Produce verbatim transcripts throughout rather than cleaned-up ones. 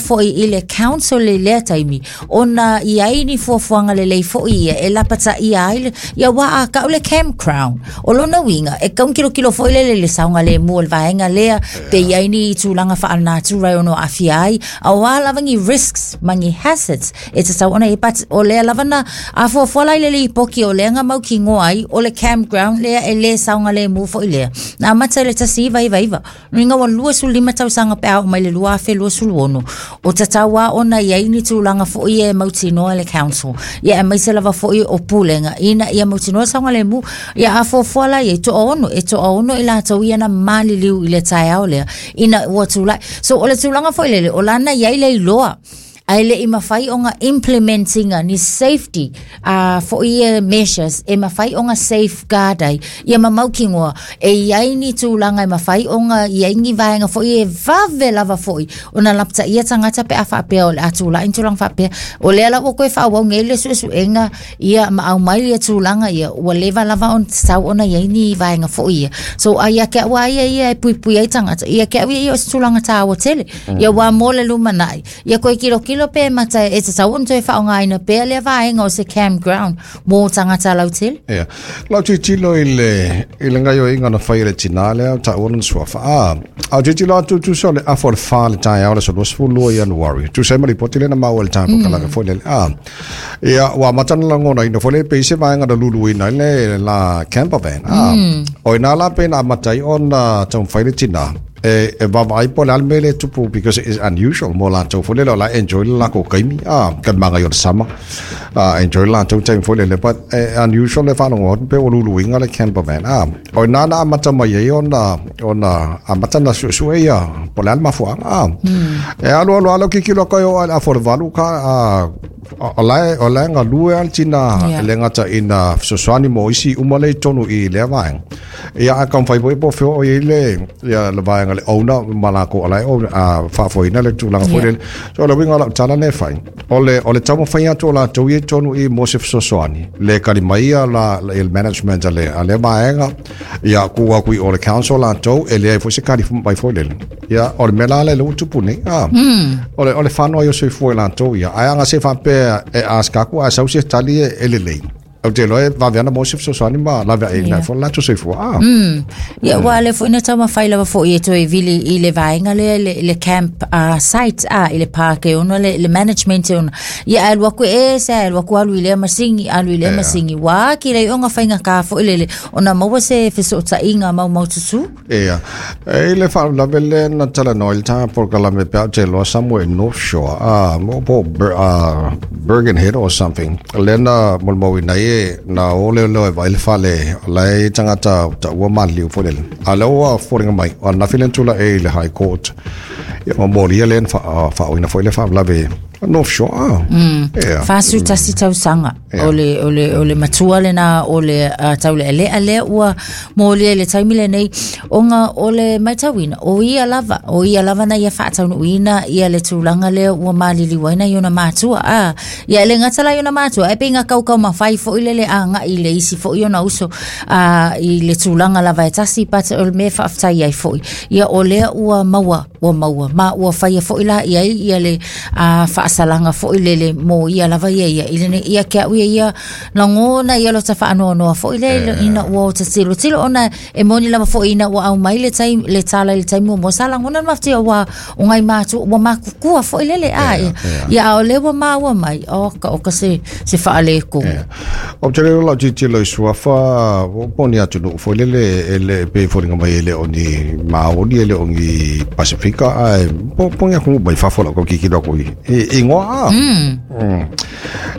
foi i le council i lea taimi ona i ai ni fuafuaga lelei foi ia e lapataia ai le ia ua a kau le campground o lona uiga e tau kilokilo foi lele i le saogalemu o le vaega lea pe i ai ni tulaga faalenatura e ono aafia ai auā lava ni risks ma ni hazards e tatau ona i but o lea lava na afuafua la i le lipoti o lea na mautinoa ai o le campground lea e lē saogalemu foi lea na amata i le tasi iva iva iva luiga ua lua sulu lima tausaga pe a oo mai le lua afe lua sulu ono o tatau a ona i ai ni tulaga foi e mautinoa le council ia aemaise lava foi o pulega ina ia mautinoa saogalemu ia afuafua la ia toaono e toaono i latou ia na maliliu i le taeao lea ina ua tulai so o le tulaga foi lele o lana i ai le iloa ae le i mafai ona implementinga ni safety uh, foi ia measures e mafai ona safeguard ai ia ma mautinoa e i ai ni tulaga e mafai ona i ai ni vaega foi e vave lava foi ona lapataia tagata pe a faapea o le a tulai ni tulaga faapea o lea la ua koe faaauau nei le suesuega ia ma aumai ia tulaga ia ua leva lava ona tatau ona i ai ni vaega foi ia so a ia ke au a ia ia e puipui ai tagata ia ke au ia ia o se tulaga tāua tele ia ua mo le lumanai ia koe kilokilo pe mata e tatau ona toe faaaogaina pea lea vaega o se campground mo tagata lautele. Ia. Lau tilotilo i le i le gaoioiga na fai e le tinā lea taua lona suafa. A, a tilotilo atu tusa o le afa o le fa le taeao le aso luasefulu lua Ianuari. Tusa ai ma lipoti lea na maua i le tatou kalaga foi lele. A, ia, ua amata ona lagonaina foi le pei se vaega na luluina ai le la camper van. A, o ina la pei na amata ai ona taumafai le tinā e e vaavaai po o le a le mea lea e tupu because it is unusual mo latou foi lele o la e enjoy le lakou taimi a ka le magai o le sama a enjoy le latou taimi foi lele but e unusual le faalogo atu pe ua luluina le camper van a o ina na amata mai ai ona ona amata na suesue ia po o le a le mafuaaga a e alu alu alu kikilo atu ai oo lava i le afa o le valu ka a o la e o la e galue lava le tinā Yeah. e le gata ina fesoasoani mo isi uma lea i totonu i lea vaega ia ae taumafai foi po o fea o i ai le ia le vaega le owner ma lakou o la e own a faafoeina le tulaga foi Yeah. lele so o le uiga o lau tala lea e fai o le o le taumafai atu o latou ia i totonu i mo se fesoasoani le kali mai ia la le management a le a lea vaega ia tuu atu i o le council latou e leai foi se kali mai foi lele ia o le mea la lea ua tupu nei a o le o le fano ai o soifua i latou ia ae aga se faapea e ask aku ae sau se tali e e lelei ou te iloa e vave ana mo se fesoasoani ma lave ai Yeah. foi le latou soifua a Ia ua le foi na taumafai lava foi e toe vili i le vaega lea le, le camp uh, site a i le park e ona le, le management e ona ia alu aku e se alu aku alu i lea masini alu i lea Yeah. masini ua ki le ona fainga ka foi lele ona maua se fesootaiga maumaututu. Ia e i le faalavelave lea na talanoa i le tā polokalame pe a ou te iloa somewhere in North Shore a mo po uh, Bergen Head or something lea na molimauina ai e na o leoleo e vaai le fale o la e tagata taua maliliu foi lele a lea ua foliga mai o ananafi lea na tula'i i le High Court ia ma molia lea na faaoina foi le faalavelave North Shore a ia Fasu tasi tausaga Yeah. o le o le o le matua lena o le uh, taulealea lea ua molia i le taimi lenei ona o le matauina o ia lava o ia lava na ia faataunuuina ia le tulaga lea ua maliliu ai na i ona matua a ia e le gata la i ona matua e pei kaukau mafai foi lele agai i le isi foi ona uso a i le tulaga lava e tasi but o le mea faafetai ai foi ia o lea ua maua ua maua ma ua faia foi la i ai ia le a faasalaga foi lele mo ia lava ia ia i lene ia ke au ia ia lagona ia lota faanoanoa foi le ina ua o tilotilo ona e moni lava foi ina ua aumai le taimi le tala i le taimi muamua sa lagona le mafatia ua o ngai matu ua makukua foi lele a ia ia a o lea ua maua mai o ka o ka se se faaletonu. Ia. Ou te le iloa lau tilotilo i suafa o po o ni atunuu foi lele e le pei e foliga mai e le o ni Maori e le o ni Pasifika ae po po ni atunuu mai fafo lau tilotilo atu i i igoa a. Mm.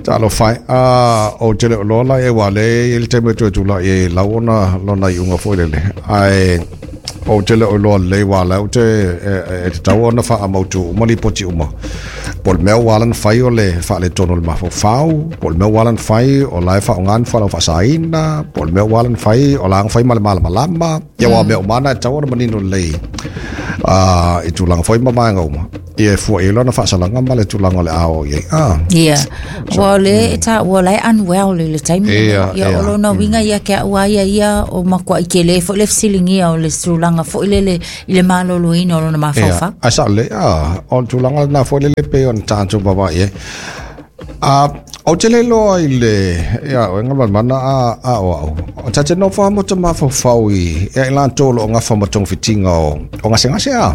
Talofa e. A ou te le o iloa la e ua le i le taimi e toe tula'i ai lau ona lona iuga foi lele ae ou te le o iloa lelei aua o la ou te e, e tatau ona faamautu uma lipoti uma po o le mea ua ala ona fai o le faaletonu o le mafaufau po o le mea ua ala ona fai o la e faaaoga ni fualaau faasaina po o le mea ua ala ona fai o la e fai ma le malamalama ia aua o mea uma lava na e tatau ona manino lelei a i tulaga foi ma vaega uma Ia e fua i lona faasalanga ma le tulaga o le ao i ai. Ah. Ia. Ua le ta ua lai unwell i le taimi. Ia, Ia ia. o lona uiga ia ke au ia ia o makuai tele foi le fesiligia o le tulaga foi lele i le maloloina o lona mafaufau. Ia, a sa le a o le tulaga lena foi lele pei ona tatou vaavaai ai. A o te le loa i le ia o ngā mana a a o au. O tate no fa mo te mafaufau i ia i latou o lo o gafa ma togafitiga o o gasegase a.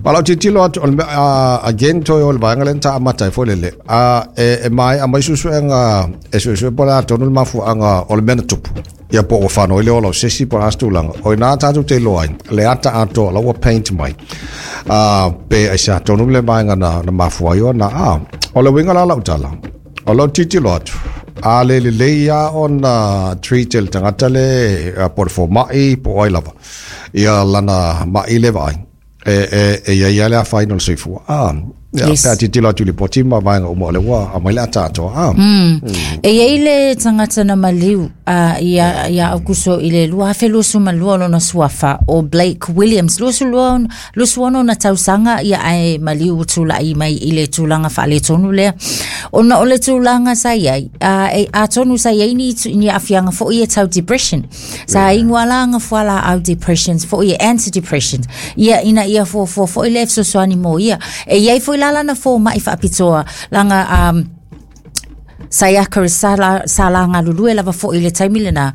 Ma lau tilotilo atu o le mea a again toe o le vaega lea na taamata ai foi lele. A e e mai a mai suesuega e suesue po o le a tonu le mafuaaga o le mea na tupu. Ia po ua whanau i le ola o sesi po o le a se tulaga. O ina tātou te iloa ai, le ata atoa la ua paint mai. Uh, pe ai se atonu le vaega na, na mafua ai ona. Ah, o le uiga la lau tala. O lau tilotilo atu. A le lelei lava ona treat e le tagata le uh, po o le fomai po o ai lava. Ia lana mai le vaai. E, e, e ia ia le afaina o le soifua. Ah, ia, Yes. pe a tilotilo atu i lipoti ma vaega uma o le ua aumai le ata atoa. Ah, E iai le tagata na maliu a ia ia Aukuso i le lua afe luasu ma lua lona suafa o Blake Williams luasu lua luasu ono na tausaga ia ae maliu ua tula'i mai i le tulaga faaletonu lea ona o le tulaga sa iai a e atonu sa iai ni tu- ni aafiaga fo'i e tau depression sa igu ala fualaau depressions fo'i e anti-depressions ia ina ia fuafua fo'i le fesoasoani mo ia e iai foi la lana foma'i faapitoa laga um, sa ia sa la sa la galulue lava fo'i le taimi lena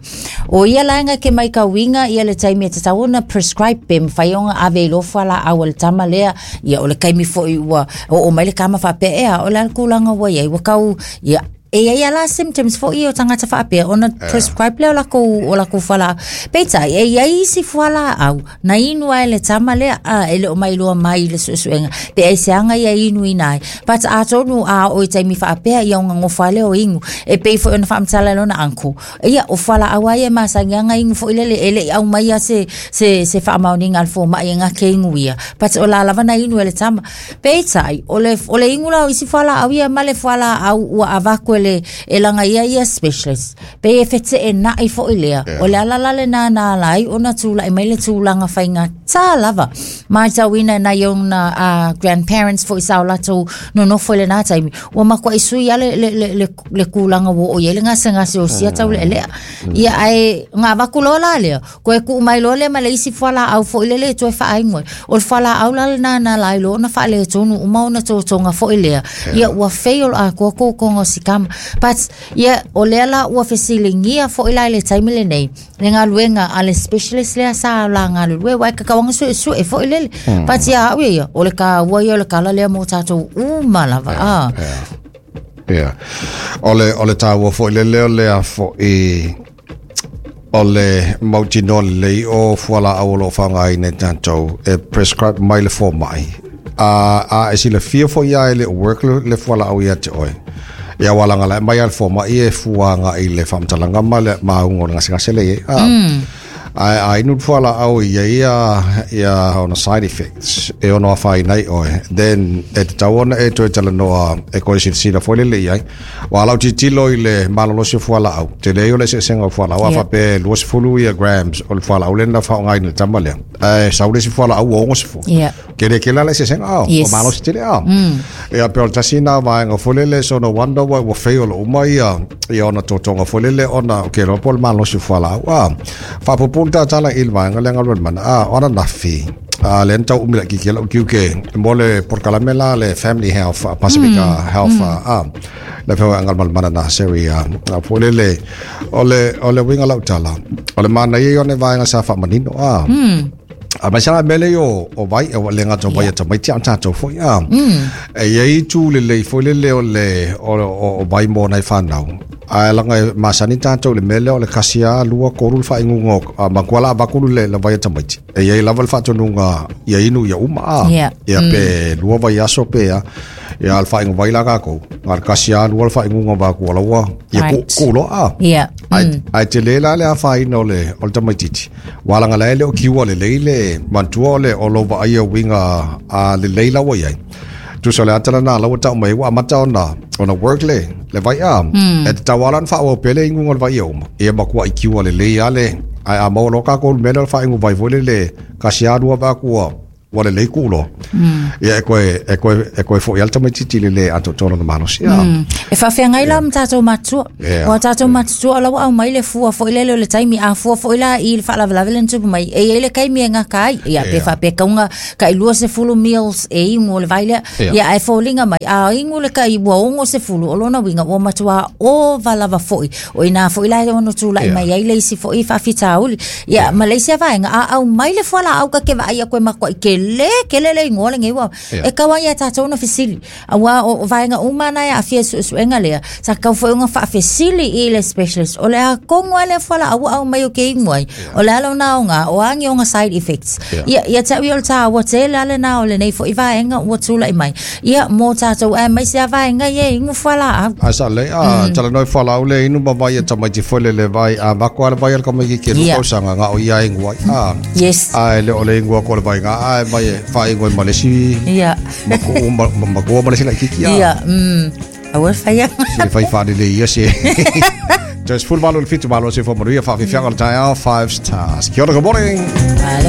o ia laega ke mai kauiga ia le taimi e tatau ona prescribe pe mafai ona ave i loa fualaau a le tama lea ia o le taimi fo'i ua oo mai le kama faapea ea o le a le tulaga ua iai ua kau ia e iai ala symptoms fo'i o tagata faapea ona prescribe lea o lakou o lakou fualaau peitai e iai isi fualaau na inu ai le tama lea a e le o mailoa mai i le suesuega pe aiseaga ia inuina ai but atonu a oo i taimi faapea ia ona gofa ai lea o inu e pei foi ona faamatala e lona uncle ia o fualaau a ia e masagiaga inu foi lele e lei aumaia se se se faamaoniga a le foma'i e gake inu ia but o la lava na inu e le tama peitai o le o le inu la o isi fualaau ia ma le fualaau ua avatu e le e laga ia ia specialist pe e feteena'i fo'i lea o le ala la lenā na ala ai ona tula'i mai le tulaga faigatā lava matauina nai ona uh, grandparents fo'i sa o latou nonofo i lenā taimi ua makua'i sui a le, le, le, le, le kulaga ua oo i ai le gasegase o sia taulealea ia ae gavaku loa la lea koe kuu mai loa lea ma le isi fualaau fo'i lele e toe faainu ai o le fualaau la lenā na ala ai loa ona faaletonu uma ona totoga fo'i lea ia ua fail atoa totoga o si kama but ia o lea la ua fesiligia fo'i la i le taimi lenei le galuega a le specialist lea sa la galulue uae kakauaga suesue fo'i lele but ia a'u ia ia o le kāua ia o le kala lea mo tatou uma lava a Ia. O le, o le tāua foi lele o le a fo'i o le mautinoa lelei o fualaau o lo o faaaogaina e tatou e prescribe mai le fomai. A, a e silafia foi ia e le o work le, le fualaau ia te oe. Ia ua laga lae mai a le fomai e fua agai i le faamatalaga ma le mauga o le gasegase le iai. A, a, a inu le fualaau ia ia ia ona side effects e ono afaina ai oe. Then e tatau ona e toe talanoa e koe silasila foi lele i ai. Ua lau tilotilo i le malolosi o fualaau. Tele ai o le eseesega o fualaau. A Ia. faapea luasefulu ia grams o le fualaau lea na faaaogaina i le tama lea. Ae sau le isi fualaau ua ogasefulu. Ia. Ke le kela le eseesega ao. Yes. O malosi tele ao. Ia pe o le tasi na vaega foi lele so no wonder ua ua fail uma ia ia ona totoga foi lele ona o ke loa po o le malosi o fualaau. Ah, faapupu le tatala i le vaega lea galuega mana. Ah, ona nafi. Ah, le na tau umi laitiiti ai lau tiute mo le polokalame la le Family Health ah, Pacifica Health ah, ah, le feoaiga malamalamana na seri ah, ah, foi lele o le o le uiga lau tala o le manaia ia o le vaega sa faamanino ah. A mai sala mele o o vai o le ngata vai ta mai tia tatou foi a. E iai tu le le foi le le o le o o o vai mo nai whanau. A langa e masani tatou le mele o le kasia lua koru le whaingunga o a makuala avakulu le le vai tamaiti. E iai lava le whaatonunga ia inu ia uma a. Yeah. Ia pe lua vai aso pe a. Ia le whaingu vai la kākou. Ngā le kasia lua le whaingunga vā kua laua. Ia ku, Right. ku loa a. Ia. Ai ai te le la le afaina o le o le tamaitiiti. Ua laga lae le o kiua lelei le manatua o le o lou vaaia uiga a lelei laua iai. Tusa o le ata lenā laua tau mai ua amata ona ona work le le vai'a. E tatau lava ona faaauau pea le iguga o le vaia uma. Ia makua'i kiua lelei a le ae a maua loa kākou le mea lea o le faaigu vai foi lele kasi lava lua vaa kua ua lelei kuʻu ia e koe e koe e koe foʻi ale tamaititi le lē atoatoa lona malosi a. E faafeagai la ma tatou matutua. Yeah. Ua tatou matutua o la ua aumai le fua foʻi lele o le taimi a fua foʻi la i le faalavelave le na tupu mai e iai le kaimi e gaka ai ia pe Yeah. faapea kauga kai lua sefulu mils e igu o le vai lea. Yeah. Ia ae foliga mai a igu le kai ua ogo sefulu o lona uiga ua matuā ova lava foʻi o inā foʻi la e ono tulaʻi Yeah. mai ai le isi foʻi faafitauli ia ma le isi avaega a aumai le fualaau ka ke vaai aku e makuaʻi kelē kele le igoa lenei ua Yeah. e kau ai ia tatou ona fesili auā o o vaega uma na e aafia i suesuega lea sa kau foi ona faafesili i le specialist o le a kogo a lea fualaau ua aumai o ke igu ai o le a lona aoga o agi ona side effects. Yeah. Ia ia te au ia o le tāua tele ale na o lenei foʻi vaega ua tulaʻi mai ia mo tatou ae mai se a vaega ia e igu fualaau. Ai sa le a talanoa fualaau le inu ma vai e tamaiti foi le le vai a vako ale vai ale kamaiki ke Yeah. lua tausaga ga o ia igu ai a Yes. a le o le igu ko le vai ga a mai e fa igu ma le si Ia. ma ko ma ma ko ma le si la kiki a Ia mm aua faia. Se fai fa le ia se Just full malo le fitu malo se fo manuia fa fi fianga le taeao five stars. Kia ora, good morning. Malo.